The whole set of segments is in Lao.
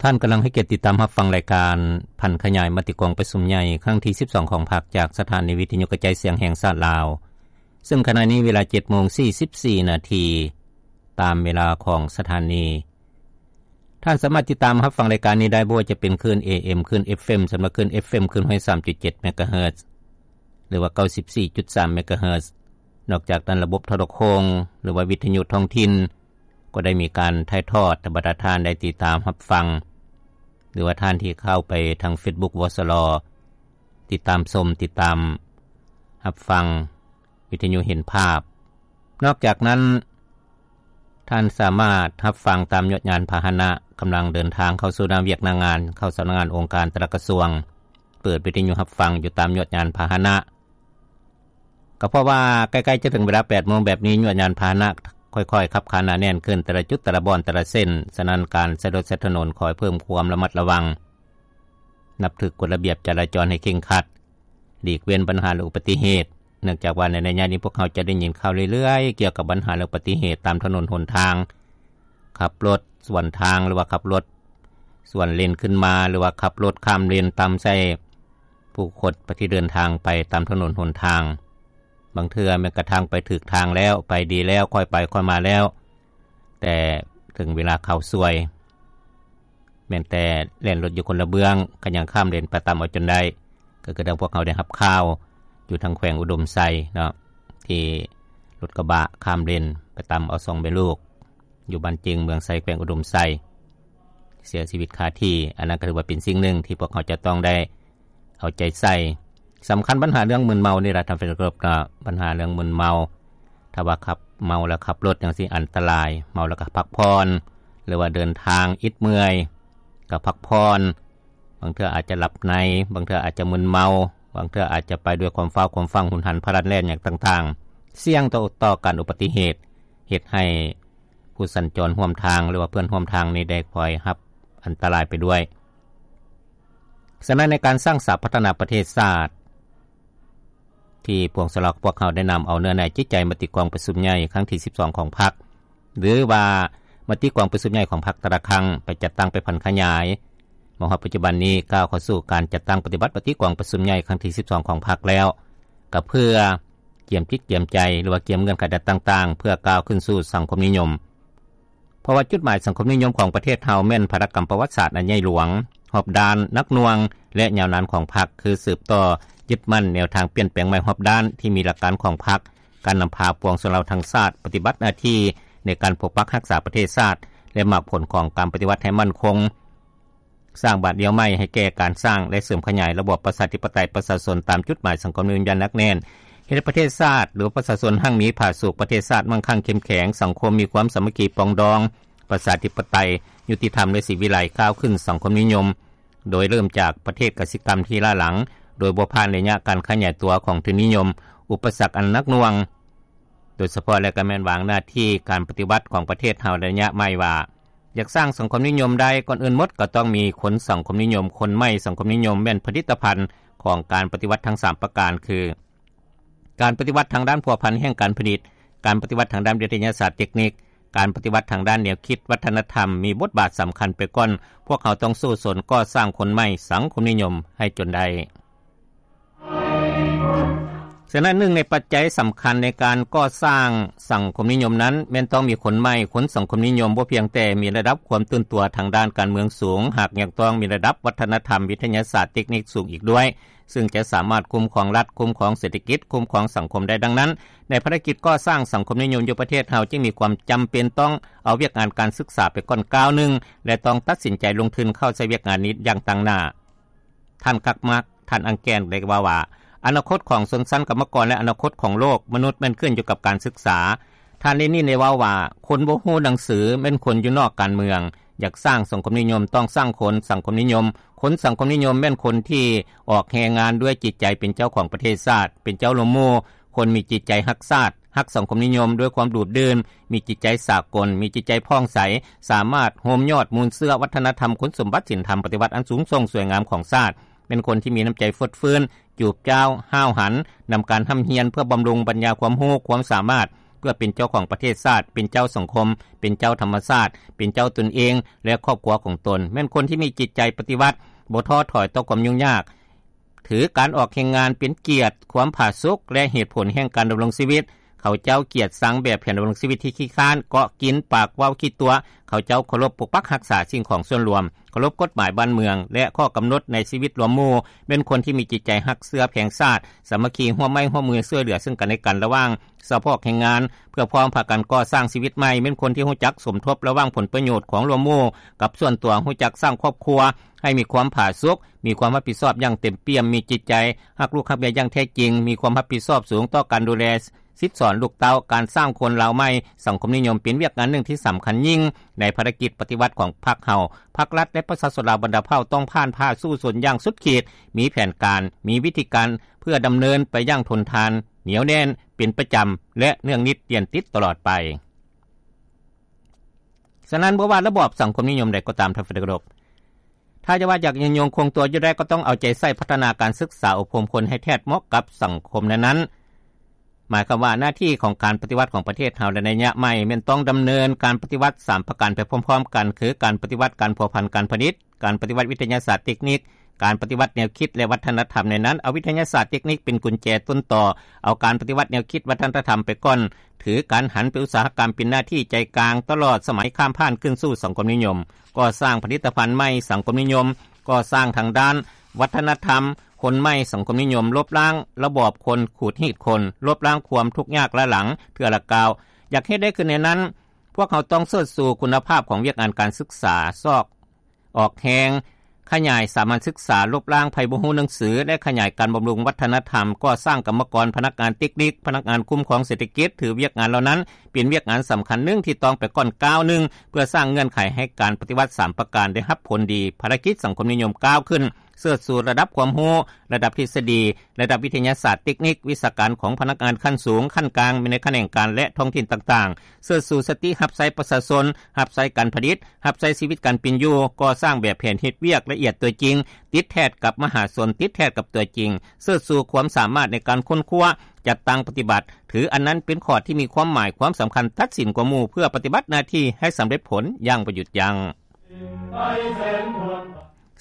ທ່ານກຳລັງໃຫ້ກຽດຕິດຕາມຮັບຟັງລາຍການຜັນຂະຫຍາຍມະຕິກອງປະຊຸມໃຫຍ່ຄັ້ງທີສິບສອງຂອງພັກ ຈາກສະຖານີວິທະຍຸກະຈາຍສຽງແຫ່ງຊາດລາວ, ເຊິ່ງຂະນະນີ້ເວລາເຈັດໂມງສີ່ສິບສີ່ນາທີ ຕາມເວລາຂອງສະຖານີ. ທ່ານສາມາດຕິດຕາມຮັບຟັງລາຍການນີ້ໄດ້ ບໍ່ວ່າຈະເປັນຄື້ນ ເອເອັມ, ຄື້ນ ເອັຟເອັມ, ສຳລັບຄື້ນ ເອັຟເອັມ ຄື້ນຮ້ອຍສາມຈຸດເຈັດເມກະເຮີດ ຫຼືວ່າເກົ້າສິບສີ່ຈຸດສາມເມກະເຮີດ. ນອກຈາກນັ້ນ ລະບົບໂທລະໂຄ່ງ ຫຼືວ່າວິທະຍຸທ້ອງຖິ່ນ ກໍໄດ້ມີການຖ່າຍທອດໃຫ້ບັນດາທ່ານໄດ້ຕິດຕາມຮັບຟັງ ຫຼືວ່າທ່ານທີ່ເຂົ້າໄປທາງເຟສບຸກ ວສລ ຕິດຕາມຊົມ ຕິດຕາມຮັບຟັງວິທະຍຸເຫັນພາບ. ນອກຈາກນັ້ນ ທ່ານສາມາດຮັບຟັງຕາມຍວດຍານພາຫະນະ ກຳລັງເດີນທາງເຂົ້າສູ່ໜ້າວຽກໜ້າງານ ເຂົ້າສຳນັກງານອົງການແຕ່ລະກະຊວງ, ເປີດວິທະຍຸຮັບຟັງຢູ່ຕາມຍວດຍານພາຫະນະ. ກໍເພາະວ່າໃກ້ໆຈະເຖິງເວລາແປດໂມງແບບນີ້ ຍວດຍານພາຫະນະຄ່ອຍໆຂັບຂານໜາແໜ້ນຂຶ້ນ ແຕ່ລະຈຸດ ແຕ່ລະບ່ອນ ແຕ່ລະເສັ້ນ. ສະນັ້ນ ການໃຊ້ລົດໃຊ້ຖະໜົນຂໍໃຫ້ເພີ່ມຄວາມລະມັດລະວັງ, ນັບຖືກກົດລະບຽບຈະລາຈອນໃຫ້ເຄັ່ງຄັດ, ຫຼີກເວັ້ນບັນຫາ ແລະ ອຸບັດຕິເຫດ, ເນື່ອງຈາກວ່າໃນໄລຍະນີ້ພວກເຮົາຈະໄດ້ຍິນຂ່າວເລື້ອຍໆກ່ຽວກັບບັນຫາ ແລະ ອຸບັດຕິເຫດຕາມຖະໜົນຫົນທາງ, ຂັບລົດສວນທາງ ຫຼືວ່າຂັບລົດສວນເລນຂຶ້ນມາ ຫຼືວ່າຂັບລົດຂ້າມເລນຕຳໃສ່ຜູ້ຄົນທີ່ເດີນທາງໄປຕາມຖະໜົນຫົນທາງ. ບາງເທື່ອແມ່ນກະທັ່ງໄປຖືກທາງແລ້ວ, ໄປດີແລ້ວ, ຄ່ອຍໄປຄ່ອຍມາແລ້ວ, ແຕ່ເຖິງເວລາເຂົ້າຊ່ວຍ ແມ່ນແຕ່ແລ່ນລົດຢູ່ຄົນລະເບື້ອງ ກໍຍັງຂ້າມເລນໄປຕຳເອົາຈົນໄດ້. ກໍຄືດັ່ງພວກເຮົາໄດ້ຮັບຂ່າວຢູ່ທາງແຂວງອຸດົມໄຊເນາະ ທີ່ລົດກະບະຂ້າມເລນໄປຕຳເອົາສອງແມ່ລູກ ຢູ່ບ້ານເຈິງ ເມືອງໄຊ ແຂວງອຸດົມໄຊ ເສຍຊີວິດຄາທີ່. ອັນນັ້ນກໍຖືວ່າເປັນສິ່ງໜຶ່ງທີ່ພວກເຮົາຈະຕ້ອງໄດ້ເອົາໃຈໃສ່. ສຳຄັນບັນຫາເລື່ອງມຶນເມົານີ້ລະທ່ານທີ່ເຄົາລົບເນາະ, ບັນຫາເລື່ອງມຶນເມົາ ຖ້າວ່າຂັບເມົາແລ້ວຂັບລົດຈັ່ງຊີ້ອັນຕະລາຍ, ເມົາແລ້ວກໍພັກຜ່ອນ ຫຼືວ່າເດີນທາງອິດເມື່ອຍກໍພັກຜ່ອນ, ບາງເທື່ອອາດຈະຫຼັບໃນ, ບາງເທື່ອອາດຈະມຶນເມົາ, ບາງເທື່ອອາດຈະໄປດ້ວຍຄວາມຟ້າວຄວາມຟັ່ງ, ຮຸນຫັນພະລັນແລ່ນຫຍັງຕ່າງໆ, ສ່ຽງຕໍ່ ຕໍ່ການອຸບັດຕິເຫດ, ເຮັດໃຫ້ຜູ້ສັນຈອນຮ່ວມທາງ ຫຼືວ່າເພື່ອນຮ່ວມທາງນີ້ໄດ້ພອຍຮັບອັນຕະລາຍໄປດ້ວຍ. ສະນັ້ນ ໃນການສ້າງສາພັດທະນາປະເທດຊາດ ທີ່ພວກສະເຮົາ ພວກເຮົາໄດ້ນຳເອົາເນື້ອໃນຈິດໃຈມະຕິກອງປະຊຸມໃຫຍ່ຄັ້ງທີສິບສອງຂອງພັກ ຫຼືວ່າມະຕິກອງປະຊຸມໃຫຍ່ຂອງພັກແຕ່ລະຄັ້ງ ໄປຈັດຕັ້ງ ໄປຜັນຂະຫຍາຍ ມາຮອດປັດຈຸບັນນີ້ ກ້າວເຂົ້າສູ່ການຈັດຕັ້ງປະຕິບັດມະຕິກອງປະຊຸມໃຫຍ່ຄັ້ງທີສິບສອງຂອງພັກແລ້ວ ກໍເພື່ອກຽມຈິດກຽມໃຈ ຫຼືວ່າກຽມເງື່ອນໄຂຕ່າງໆ ເພື່ອກ້າວຂຶ້ນສູ່ສັງຄົມນິຍົມ. ເພາະວ່າຈຸດໝາຍສັງຄົມນິຍົມຂອງປະເທດເຮົາແມ່ນພາລະກຳປະຫວັດສາດອັນໃຫຍ່ຫຼວງ, ຮອບດ້ານ, ໜັກໜ່ວງ ແລະ ຍາວນານຂອງພັກ ຄືສືບຕໍ່ຍຶດໝັ້ນແນວທາງປ່ຽນແປງໃໝ່ຮອບດ້ານທີ່ມີຫຼັກການຂອງພັກ, ການນຳພາປວງຊົນລາວທັງຊາດປະຕິບັດໜ້າທີ່ໃນການປົກປັກຮັກສາປະເທດຊາດ ແລະ ໝາກຜົນຂອງການປະຕິວັດໃຫ້ໝັ້ນຄົງ, ສ້າງບາດລ້ຽວໃໝ່ໃຫ້ແກ່ການສ້າງ ແລະ ເສີມຂະຫຍາຍລະບອບປະຊາທິປະໄຕປະຊາຊົນຕາມຈຸດໝາຍສັງຄົມນິຍົມຢ່າງໜັກແໜ້ນ, ເຮັດໃຫ້ປະເທດຊາດ ຫຼື ປະຊາຊົນຮັ່ງມີຜາສຸກ, ປະເທດຊາດມັ່ງຄັ່ງເຂັ້ມແຂງ, ສັງຄົມມີຄວາມສາມັກຄີປອງດອງ, ປະຊາທິປະໄຕ, ຍຸຕິທຳ ແລະ ສີວິໄລ, ກ້າວຂຶ້ນສັງຄົມນິຍົມ ໂດຍເລີ່ມຈາກປະເທດກະສິກຳທີ່ລ້າຫຼັງ ໂດຍບໍ່ຜ່ານໄລຍະການຂະຫຍາຍຕົວຂອງທຶນນິຍົມ, ອຸປະສັກອັນໜັກໜ່ວງ ໂດຍສະເພາະ ແລະ ກໍແມ່ນວາງໜ້າທີ່ການປະຕິວັດຂອງປະເທດເຮົາໃນໄລຍະໃໝ່ວ່າ ຢາກສ້າງສັງຄົມນິຍົມໄດ້ ກ່ອນອື່ນໝົດກໍຕ້ອງມີຄົນສັງຄົມນິຍົມ, ຄົນໃໝ່ສັງຄົມນິຍົມ ແມ່ນຜະລິດຕະພັນຂອງການປະຕິວັດທັງສາມປະການ ຄື ການປະຕິວັດທາງດ້ານພົວພັນແຫ່ງການຜະລິດ, ການປະຕິວັດທາງດ້ານວິທະຍາສາດເຕັກນິກ, ການປະຕິວັດທາງດ້ານແນວຄິດວັດທະນະທຳ ມີບົດບາດສຳຄັນໄປກ່ອນ. ພວກເຮົາຕ້ອງສູ້ຊົນກໍ່ສ້າງຄົນໃໝ່ສັງຄົມນິຍົມໃຫ້ຈົນໄດ້. ສະນັ້ນ ໜຶ່ງໃນປັດໄຈສຳຄັນໃນການກໍ່ສ້າງສັງຄົມນິຍົມນັ້ນ ແມ່ນຕ້ອງມີຄົນໃໝ່, ຄົນສັງຄົມນິຍົມ ບໍ່ພຽງແຕ່ມີລະດັບຄວາມຕື່ນຕົວທາງດ້ານການເມືອງສູງ, ຫາກຍັງຕ້ອງມີລະດັບວັດທະນະທຳ, ວິທະຍາສາດ, ເຕັກນິກສູງອີກດ້ວຍ ຊຶ່ງຈະສາມາດຄຸ້ມຄອງລັດ, ຄຸ້ມຄອງເສດຖະກິດ, ຄຸ້ມຄອງສັງຄົມໄດ້. ດັ່ງນັ້ນ ໃນພາລະກິດກໍ່ສ້າງສັງຄົມນິຍົມຢູ່ປະເທດເຮົາ ຈຶ່ງມີຄວາມຈຳເປັນຕ້ອງເອົາວຽກງານການສຶກສາໄປກ່ອນກ້າວໜຶ່ງ ແລະ ຕ້ອງຕັດສິນໃຈລົງທຶນເຂົ້າໃສ່ວຽກງານນີ້ຢ່າງຕັ້ງໜ້າ. ທ່ານ ກັກມັກ ທ່ານ ອັງແກນ ໄດ້ເວົ້າວ່າ ອະນາຄົດຂອງຊົນຊັ້ນກຳມະກອນ ແລະ ອະນາຄົດຂອງໂລກມະນຸດແມ່ນຂຶ້ນຢູ່ກັບການສຶກສາ. ທ່ານ ເລນິນ ໄດ້ເວົ້າວ່າ ຄົນບໍ່ຮູ້ໜັງສືແມ່ນຄົນຢູ່ນອກການເມືອງ. ຢາກສ້າງສັງຄົມນິຍົມ ຕ້ອງສ້າງຄົນສັງຄົມນິຍົມ. ຄົນສັງຄົມນິຍົມແມ່ນຄົນທີ່ອອກແຮງງານດ້ວຍຈິດໃຈເປັນເຈົ້າຂອງປະເທດຊາດ, ເປັນເຈົ້າລົມໝູ່, ຄົນມີຈິດໃຈຮັກຊາດ, ຮັກສັງຄົມນິຍົມດ້ວຍຄວາມດູດດື່ມ, ມີຈິດໃຈສາກົນ, ມີຈິດໃຈຜ່ອງໃສ, ສາມາດໂຮມຍອດມູນເຊື້ອວັດທະນະທຳ, ຄຸນສົມບັດສິນທຳປະຕິວັດອັນສູງສົ່ງສວຍງາມຂອງຊາດ, ເປັນຄົນທີ່ມີນ້ຳໃຈຟົດຟື້ນ, ຈູບຈ້າວ, ຫ້າວຫັນ, ນຳການຮ່ຳຮຽນເພື່ອບຳລຸງປັນຍາຄວາມຮູ້ຄວາມສາມາດ ພື່ອເປັນເຈົ້າຂອງປະເທດຊາດ, ເປັນເຈົ້າສັງຄົມ, ເປັນເຈົ້າທຳມະຊາດ, ເປັນເຈົ້າຕົນເອງ ແລະ ຄອບຄົວຂອງຕົນ, ແມ່ນຄົນທີ່ມີຈິດໃຈປະຕິວັດ, ບໍ່ທໍ້ຖອຍຕໍ່ຄວາມຫຍຸ້ງຍາກ, ຖືການອອກແຮງງານເປັນກຽດ, ຄວາມຜາສຸກ ແລະ ເຫດຜົນແຫ່ງການດຳລົງຊີວິດ. ເຂົາເຈົ້າກຽດຊັງແບບແຜນດຳລົງຊີວິດທີ່ຂີ້ຄ້ານ, ເກາະກິນ, ປາກເວົ້າຂີ້ຕົວະ. ເຂົາເຈົ້າເຄົາລົບປົກປັກຮັກສາສິ່ງຂອງສ່ວນລວມ, ເຄົາລົບກົດໝາຍບ້ານເມືອງ ແລະ ຂໍ້ກຳນົດໃນຊີວິດລວມໝູ່, ເປັນຄົນທີ່ມີຈິດໃຈຮັກເຊື້ອແພງຊາດ, ສາມັກຄີຮ່ວມໄມ້ຮ່ວມມືຊ່ວຍເຫຼືອເຊິ່ງກັນແລະກັນລະຫວ່າງສະເພາະແຮງງານ ເພື່ອພ້ອມພາກັນກໍ່ສ້າງຊີວິດໃໝ່, ເປັນຄົນທີ່ຮູ້ຈັກສົມທົບລະຫວ່າງຜົນປະໂຫຍດຂອງລວມໝູ່ກັບສ່ວນຕົວ, ຮູ້ຈັກສ້າງຄອບຄົວໃຫ້ມີຄວາມຜາສຸກ, ມີຄວາມຮັບຜິດຊອບຢ່າງເຕັມປ່ຽມ, ມີຈິດໃຈຮັກລູກຮັກເມຍຢ່າງແທ້ຈິງ, ມີຄວາມຮັບຜິດຊອບສູງຕໍ່ການດູແລ ສິດສອນລູກເຕົ້າ. ການສ້າງຄົນລາວໃໝ່ສັງຄົມນິຍົມເປັນວຽກງານໜຶ່ງທີ່ສຳຄັນຍິ່ງໃນພາລະກິດປະຕິວັດຂອງພັກເຮົາ. ພັກລັດ ແລະ ປະຊາຊົນລາວບັນດາເຜົ່າຕ້ອງຜ່ານຜ່າສູ້ຊົນຢ່າງສຸດຂີດ, ມີແຜນການ, ມີວິທີການເພື່ອດຳເນີນໄປຢ່າງທົນທານ, ໜຽວແໜ້ນ, ເປັນປະຈຳ ແລະ ເນື່ອງນິດຕຽນຕິດຕະຫຼອດໄປ. ສະນັ້ນ ບໍ່ວ່າລະບອບສັງຄົມນິຍົມໃດກໍຕາມ, ທ່ານທີ່ເຄົາລົບ, ຖ້າຈະວ່າຢາກຍືນຍົງຄົງຕົວຢູ່ໄດ້ ກໍຕ້ອງເອົາໃຈໃສ່ພັດທະນາການສຶກສາອົບຮົມຄົນໃຫ້ແທດເໝາະກັບສັງຄົມນັ້ນໆ. ໝາຍຄວາມວ່າໜ້າທີ່ຂອງການປະຕິວັດຂອງປະເທດເຮົາໃນໄລຍະໃໝ່ ແມ່ນຕ້ອງດຳເນີນການປະຕິວັດສາມປະການໄປພ້ອມໆກັນ, ຄືການປະຕິວັດການພົວພັນການຜະລິດ, ການປະຕິວັດວິທະຍາສາດເຕັກນິກ, ການປະຕິວັດແນວຄິດ ແລະ ວັດທະນະທຳ. ໃນນັ້ນ ເອົາວິທະຍາສາດເຕັກນິກເປັນກຸນແຈຕົ້ນຕໍ, ເອົາການປະຕິວັດແນວຄິດວັດທະນະທຳໄປກ່ອນ, ຖືການຫັນໄປອຸດສາຫະກຳເປັນໜ້າທີ່ໃຈກາງ ຕະຫຼອດສະໄໝຂ້າມຜ່ານຂຶ້ນສູ່ສັງຄົມນິຍົມ, ກໍ່ສ້າງຜະລິດຕະພັນໃໝ່ສັງຄົມນິຍົມ, ກໍ່ສ້າງທາງດ້ານວັດທະນະທຳຄົນໃໝ່ສັງຄົມນິຍົມ, ລົບລ້າງລະບອບຄົນຂູດຮີດຄົນ, ລົບລ້າງຄວາມທຸກຍາກລ້າຫຼັງເທື່ອລະກ້າວ. ຢາກເຮັດໄດ້ຂຶ້ນແນວນັ້ນ, ພວກເຮົາຕ້ອງເສີດຊູຄຸນນະພາບຂອງວຽກງານການສຶກສາ, ຊອກ ອອກແຮງຂະຫຍາຍສາມັນສຶກສາ, ລົບລ້າງໃຜບໍ່ຮູ້ໜັງສື ແລະ ຂະຫຍາຍການບຳລຸງວັດທະນະທຳ, ກໍ່ສ້າງກຳມະກອນ, ພະນັກງານເຕັກນິກ, ພະນັກງານຄຸ້ມຄອງເສດຖະກິດ, ຖືວຽກງານເຫຼົ່ານັ້ນເປັນວຽກງານສຳຄັນໜຶ່ງທີ່ຕ້ອງໄປກ່ອນກ້າວໜຶ່ງ ເພື່ອສ້າງເງື່ອນໄຂໃຫ້ການປະຕິວັດສາມປະການໄດ້ຮັບຜົນດີ. ພາລະກິດສັງຄົມນິຍົມກ້າວຂຶ້ນ ເສີດຊູລະດັບຄວາມຮູ້, ລະດັບທິດສະດີ, ລະດັບວິທະຍາສາດ, ເຕັກນິກ, ວິຊາການຂອງພະນັກງານຂັ້ນສູງ, ຂັ້ນກາງ, ໃນຂະແໜງການ ແລະ ທ້ອງຖິ່ນຕ່າງໆ. ເສີດຊູສະຕິຮັບໃຊ້ປະຊາຊົນ, ຮັບໃຊ້ການຜະລິດ, ຮັບໃຊ້ຊີວິດການເປັນຢູ່, ກໍ່ສ້າງແບບແຜນເຮັດວຽກລະອຽດຕົວຈິງ, ຕິດແທດກັບມະຫາຊົນ, ຕິດແທດກັບຕົວຈິງ. ເສີດຊູຄວາມສາມາດໃນການຄົ້ນຄວ້າ, ຈັດຕັ້ງປະຕິບັດ, ຖືອັນນັ້ນເປັນຂໍ້ທີ່ມີຄວາມໝາຍຄວາມສຳຄັນຕັດສິນກວ່າໝູ່ ເພື່ອປະຕິບັດໜ້າທີ່ໃຫ້ສຳເລັດຜົນຢ່າງບໍ່ຢຸດຢັ້ງ.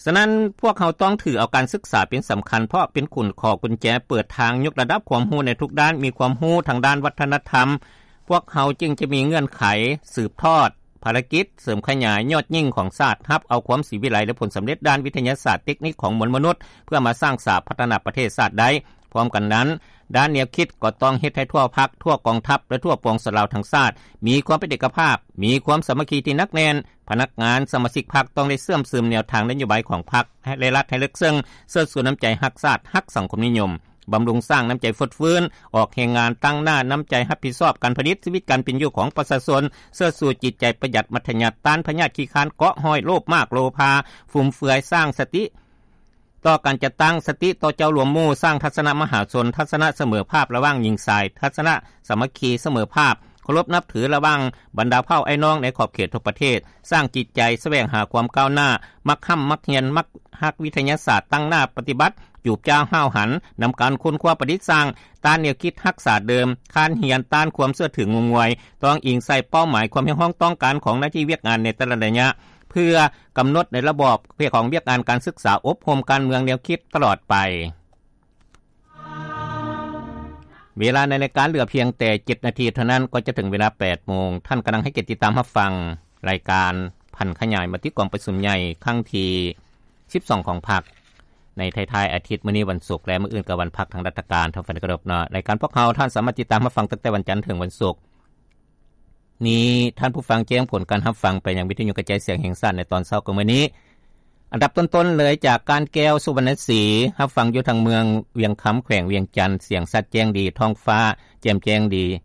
ສະນັ້ນ ພວກເຮົາຕ້ອງຖືເອົາການສຶກສາເປັນສຳຄັນ ເພາະເປັນຂຸນ ຂໍ້ກຸນແຈເປີດທາງຍົກລະດັບຄວາມຮູ້ໃນທຸກດ້ານ, ມີຄວາມຮູ້ທາງດ້ານວັດທະນະທຳ, ພວກເຮົາຈຶ່ງຈະມີເງື່ອນໄຂສືບທອດພາລະກິດເສີມຂະຫຍາຍຍອດຍິ່ງຂອງຊາດ, ຮັບເອົາຄວາມສີວິໄລ ແລະ ຜົນສຳເລັດດ້ານວິທະຍາສາດເຕັກນິກຂອງມວນມະນຸດ ເພື່ອມາສ້າງສາພັດທະນາປະເທດຊາດໄດ້. ພ້ອມກັນນັ້ນ, ດ້ານແນວຄິດກໍຕ້ອງເຮັດໃຫ້ທົ່ວພັກ, ທົ່ວກອງທັບ ແລະ ທົ່ວປວງຊົນລາວທັງຊາດ ມີຄວາມເປັນເອກະພາບ, ມີຄວາມສາມັກຄີທີ່ໜັກແໜ້ນ. ພະນັກງານສະມາຊິກພັກຕ້ອງໄດ້ເຊື່ອມຊຶມແນວທາງນະໂຍບາຍຂອງພັກ ແລະ ລັດໃຫ້ເລິກເຊິ່ງ, ເສີດຊູນ້ຳໃຈຮັກຊາດ, ຮັກສັງຄົມນິຍົມ, ບຳລຸງສ້າງນ້ຳໃຈຟົດຟື້ນ, ອອກແຮງງານ, ຕັ້ງໜ້ານ້ຳໃຈຮັບຜິດຊອບການຜະລິດ, ຊີວິດການເປັນຢູ່ຂອງປະຊາຊົນ, ເສີດຊູຈິດໃຈປະຢັດ, ມັດທະຍັດ, ຕ້ານພະຍາດຂີ້ຄ້ານ, ເກາະຫ້ອຍໂລບມາກໂລພາ, ຟຸມເຟືອຍ, ສ້າງສະຕິ ຕໍ່ການຈັດຕັ້ງ, ສະຕິຕໍ່ເຈົ້າລວມໝູ່, ສ້າງທັດສະນະມະຫາຊົນ, ທັດສະນະສະເໝີພາບລະຫວ່າງຍິງຊາຍ, ທັດສະນະສາມັກຄີສະເໝີພາບ, ເຄົາລົບນັບຖືລະຫວ່າງບັນດາເຜົ່າອ້າຍນ້ອງໃນຂອບເຂດທົ່ວປະເທດ, ສ້າງຈິດໃຈສະແຫວງຫາຄວາມກ້າວໜ້າ, ມັກຮ່ຳມັກຮຽນ, ມັກຮັກວິທະຍາສາດ, ຕັ້ງໜ້າປະຕິບັດ, ຈູບຈ້າວຫ້າວຫັນ, ນຳການຄົ້ນຄວ້າປະດິດສ້າງ, ຕ້ານແນວຄິດຮັກສາເດີມ, ຄ້ານຮຽນ, ຕ້ານຄວາມເຊື່ອຖືງມງງວຍ, ຕ້ອງອີງໃສ່ເປົ້າໝາຍຄວາມຮຽກຮ້ອງຕ້ອງການຂອງໜ້າທີ່ວຽກງານໃນແຕ່ລະໄລຍະ, ເພື່ອ ກຳນົດໃນລະບອບຂອງວຽກງານການສຶກສາອົບຮົມການເມືອງແນວຄິດຕະຫຼອດໄປ. ເວລາໃນລາຍການເຫຼືອພຽງແຕ່ເຈັດນາທີເທົ່ານັ້ນ ກໍຈະເຖິງເວລາແປດໂມງ. ທ່ານກຳລັງໃຫ້ກຽດຕິດຕາມຮັບຟັງລາຍການຜັນຂະຫຍາຍມະຕິກອງປະຊຸມໃຫຍ່ຄັ້ງທີສິບສອງຂອງພັກ ໃນທ້າຍໆອາທິດ ມື້ນີ້ວັນສຸກ ແລະ ມື້ອື່ນກໍວັນພັກທາງລັດຖະການ. ທ່ານຜູ້ຟັງທີ່ເຄົາລົບເນາະ, ລາຍການພວກເຮົາ ທ່ານສາມາດຕິດຕາມຮັບຟັງຕັ້ງແຕ່ວັນຈັນເຖິງວັນສຸກ ນີ້ ທ່ານຜູ້ຟັງແຈ້ງຜົນການຮັບຟັງໄປຍັງວິທະຍຸກະຈາຍສຽງແຫ່ງຊາດໃນຕອນເຊົ້າຂອງມື້ນີ້. ອັນດັບຕົ້ນໆເລີຍຈາກການແກ້ວ ສຸວັນນະສີ ຮັບຟັງຢູ່ທາງເມືອງວຽງຄຳ ແຂວງວຽງຈັນ, ສຽງຊັດແຈ້ງດີ, ທ້ອງຟ້າແຈ່ມແຈ້ງດີ.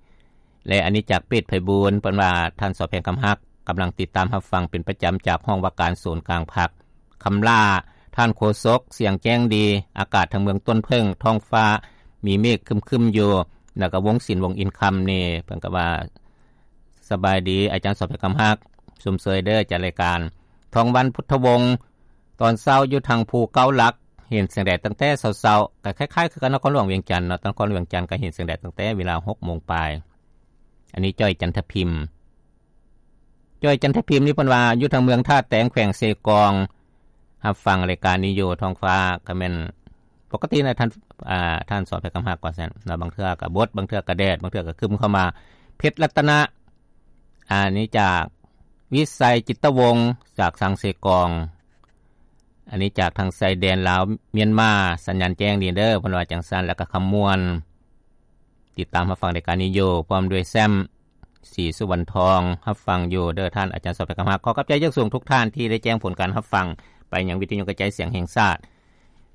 ແລະ ອັນນີ້ຈາກເປດໄພບູນ ເພິ່ນວ່າ ທ່ານ ສອແພງຄຳຮັກ ກຳລັງຕິດຕາມຮັບຟັງເປັນປະຈຳຈາກຫ້ອງວ່າການສູນກາງພັກ. ຄຳຫຼ້າ ທ່ານໂຄສົກ ສຽງແຈ້ງດີ, ອາກາດທາງເມືອງຕົ້ນເຜິ້ງ ທ້ອງຟ້າມີເມກຄຶ້ມໆຢູ່. ແລ້ວກໍວົງສິນ ວົງອິນຄຳນີ້ ເພິ່ນກໍວ່າ ສະບາຍດີອາຈານສອບໃຫ້ຄຳຮັກ ຊົມເຊີຍເດີຈາກລາຍການ. ທອງວັນ ພຸດທະວົງ ຕອນເຊົ້າຢູ່ທາງພູເກົ້າຫຼັກ ເຫັນແສງແດດຕັ້ງແຕ່ເຊົ້າໆ ກໍຄ້າຍໆຄືກັບນະຄອນຫຼວງວຽງຈັນເນາະ, ນະຄອນຫຼວງວຽງຈັນກໍເຫັນແສງແດດຕັ້ງແຕ່ເວລາຫົກໂມງປາຍ. ອັນນີ້ຈ້ອຍຈັນທະພິມ ຈ້ອຍຈັນທະພິມນີ້ເພິ່ນວ່າຢູ່ທາງເມືອງທ່າແຕງ ແຂວງເຊກອງ ຮັບຟັງລາຍການນີ້ຢູ່. ທ້ອງຟ້າກໍແມ່ນປົກກະຕິນະ ທ່ານ ອາ ທ່ານສອນໄພຄຳຮັກ ວ່າຊັ້ນເນາະ. ບາງເທື່ອກໍບົດ ບາງເທື່ອກໍແດດ ບາງເທື່ອກໍຄຶ້ມເຂົ້າມາ. ເພັດລັດຕະນະ ອັນນີ້ຈາກວິໄສຈິດຕະວົງ ຈາກທາງເຊກອງ. ອັນນີ້ຈາກທາງຊາຍແດນລາວມຽນມາ ສັນຍານແຈ້ງດີເດີ ເພິ່ນວ່າຈັ່ງຊັ້ນ. ແລ້ວກໍຄຳມ່ວນ ຕິດຕາມຮັບຟັງລາຍການນີ້ຢູ່ ພ້ອມດ້ວຍແຊມ ສີສຸວັນທອງ ຮັບຟັງຢູ່ເດີທ່ານອາຈານສອບໄປຄຳຮັກ. ຂໍຂອບໃຈຢ່າງສູງທຸກທ່ານທີ່ໄດ້ແຈ້ງຜົນການຮັບຟັງໄປຍັງວິທະຍຸກະຈາຍສຽງແຫ່ງຊາດ.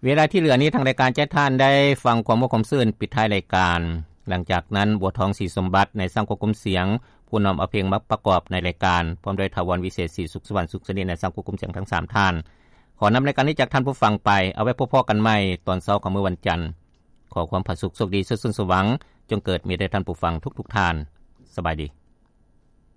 ເວລາທີ່ເຫຼືອນີ້ ທາງລາຍການຈະໃຫ້ທ່ານໄດ້ຟັງຄວາມມ່ວນຄວາມຊື່ນປິດທ້າຍລາຍການ. ຫຼັງຈາກນັ້ນ ບົວທອງ ສີສົມບັດ ໃນຊ່າງຄວບຄຸມສຽງ ຜູ້ນຳເອົາເພງມາປະກອບໃນລາຍການ ພ້ອມດ້ວຍຖາວອນ ວິເສດ ສີສຸກສະຫວັນ ສຸກສະໜິດ ໃນຊ່າງຄວບຄຸມສຽງທັງສາມທ່ານ. ຂໍນຳລາຍການນີ້ຈາກທ່ານຜູ້ຟັງໄປ. ເອົາໄວ້ພົບພໍ້ກັນໃໝ່ຕອນເຊົ້າຂອງມື້ວັນຈັນ. ຂໍຄວາມຜາສຸກ ໂຊກດີ ສຸກສົມສວັງ ຈົ່ງເກີດມີແດ່ທ່ານຜູ້ຟັງທຸກໆທ່ານ. ສະບາຍດີ.